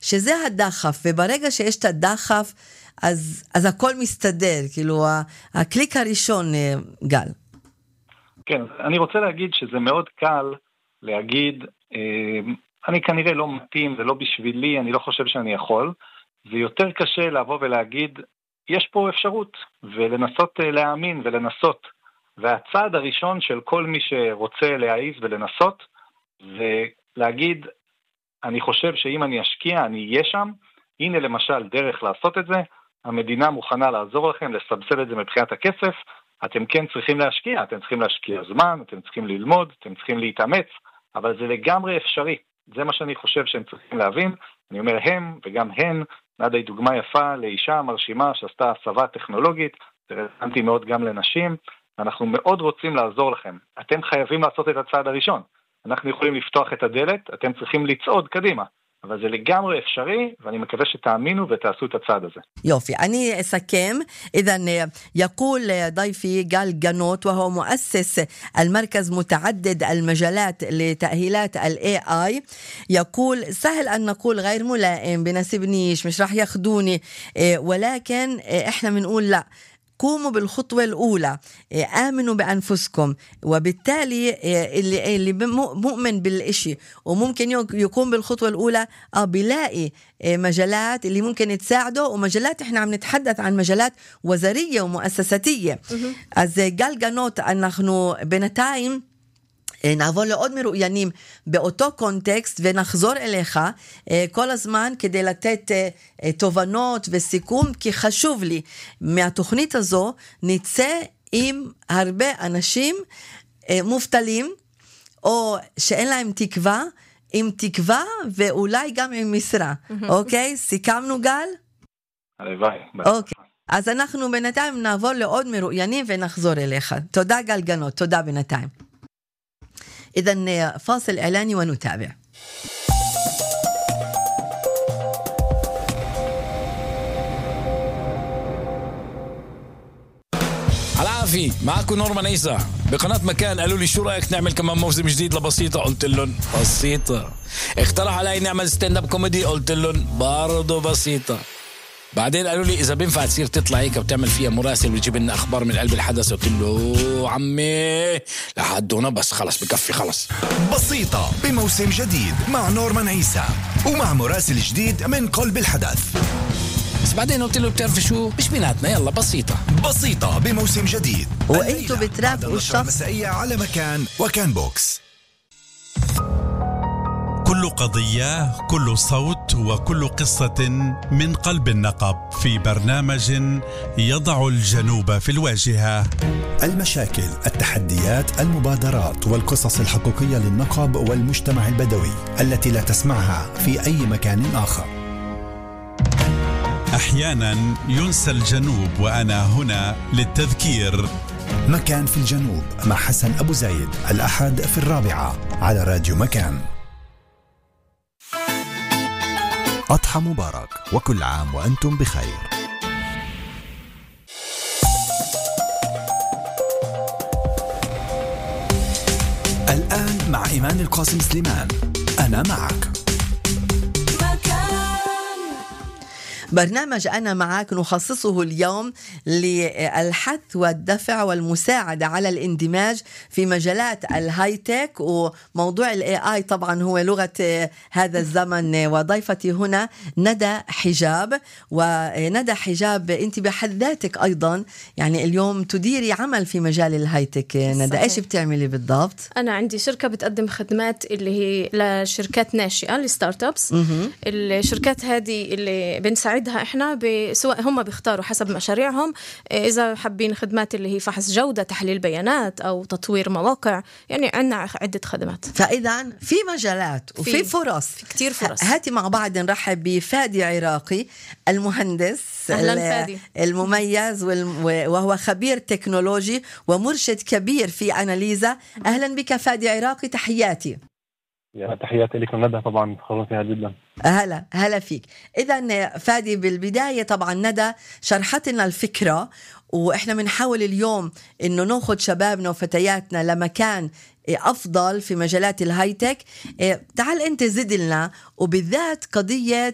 שזה הדחף, וברגע שיש את הדחף, אז הכל מסתדר, כאילו הקליק הראשון, גל. כן, אני רוצה להגיד שזה מאוד קל להגיד, אני כנראה לא מתאים, זה לא בשבילי, אני לא חושב שאני יכול. זה יותר קשה לבוא ולהגיד, יש פה אפשרות, ולנסות להאמין ולנסות. והצעד הראשון של כל מי שרוצה להעיז ולנסות, זה להגיד, אני חושב שאם אני אשקיע, אני אהיה שם. הנה למשל דרך לעשות את זה, המדינה מוכנה לעזור לכם, לסבסד את זה מבחינת הכסף, אתם כן צריכים להשקיע, אתם צריכים להשקיע זמן, אתם צריכים ללמוד, אתם צריכים להתאמץ, אבל זה לגמרי אפשרי. זה מה שאני חושב שהם צריכים להבין. אני אומר הם וגם הן, נדה היא דוגמה יפה לאישה מרשימה שעשתה הסבה טכנולוגית, זה רלוונטי מאוד גם לנשים, אנחנו מאוד רוצים לעזור לכם. אתם חייבים לעשות את הצעד הראשון. אנחנו יכולים לפתוח את הדלת, אתם צריכים לצעוד קדימה. אבל זה לגמרי אפשרי, ואני מקווה שתאמינו ותעשו את הצעד הזה. يوفي أنا أسكم إذن يقول ضيفي جال جانوت وهو مؤسس المركز متعدد المجالات لتأهيلات ال AI. يقول سهل أن نقول غير ملائم بناسبنيش مش راح ياخدوني ولكن إحنا بنقول لا قوموا بالخطوة الأولى آمنوا بأنفسكم وبالتالي اللي مؤمن بالإشي وممكن يقوم بالخطوة الأولى بيلاقي مجالات اللي ممكن تساعده ومجالات إحنا عم نتحدث عن مجالات وزارية ومؤسساتية אז גל גנות אנחנו בינתיים נעבור לעוד מרואיינים באותו קונטקסט ונחזור אליך כל הזמן כדי לתת תובנות וסיכום, כי חשוב לי מהתוכנית הזו נצא עם הרבה אנשים מובטלים או שאין להם תקווה, עם תקווה ואולי גם עם משרה. אוקיי? סיכמנו גל? הלוואי. אוקיי. אז אנחנו בינתיים נעבור לעוד מרואיינים ונחזור אליך. תודה גל גנות, תודה בינתיים. إذن فاصل إعلاني ونتابع. العافية معكم نورمان عيسى بقناة مكان. قالوا لي شو رأيك نعمل كمان موسم جديد لبسيطة؟ قلت لهم بسيطة. اقترح علي نعمل ستاند اب كوميدي؟ قلت لهم برضو بسيطة. بعدين قالوا لي إذا بينفع تصير تطلع هيك وتعمل فيها مراسل وتجيب لنا أخبار من قلب الحدث. قلت له عمي لحد هنا بس خلص بكفي خلص. بسيطة بموسم جديد مع نورمان عيسى ومع مراسل جديد من قلب الحدث. بس بعدين قلت له بتعرف شو مش بيناتنا يلا بسيطة. بسيطة بموسم جديد وانتوا بترافقوا الشخص مسائية على مكان وكان بوكس. كل قضية، كل صوت وكل قصة من قلب النقب في برنامج يضع الجنوب في الواجهة. المشاكل، التحديات، المبادرات والقصص الحقيقية للنقب والمجتمع البدوي التي لا تسمعها في أي مكان آخر. أحيانا ينسى الجنوب وأنا هنا للتذكير. مكان في الجنوب مع حسن أبو زايد الأحد في 4 على راديو مكان. أضحى مبارك وكل عام وأنتم بخير. الآن مع إيمان القاسم سليمان أنا معك. برنامج أنا معك نخصصه اليوم للحث والدفع والمساعدة على الاندماج في مجالات الهايتك وموضوع الاي اي طبعا هو لغة هذا الزمن. وضيفتي هنا ندى حجاب. وندى حجاب انت بحد ذاتك ايضا يعني اليوم تديري عمل في مجال الهايتك. ندى ايش بتعملي بالضبط؟ انا عندي شركة بتقدم خدمات اللي هي لشركات ناشئة لستارت ابس. الشركات هذه اللي بنساعد احنا سواء هم بيختاروا حسب مشاريعهم اذا حابين خدمات اللي هي فحص جودة، تحليل بيانات او تطوير مواقع، يعني عندنا عدة خدمات. فاذا في مجالات وفي فرص، في كتير فرص. هاتي مع بعض نرحب بفادي عراقي المهندس المميز وهو خبير تكنولوجي ومرشد كبير في أناليزا. اهلا بك فادي عراقي، تحياتي. يا تحياتي لكم ندى، طبعا فخورة فيها جدا. هلا فيك. إذن فادي بالبداية طبعا ندى شرحت لنا الفكرة وإحنا بنحاول اليوم إنه ناخد شبابنا وفتياتنا لمكان أفضل في مجالات الهايتك. تعال أنت زد لنا وبالذات قضية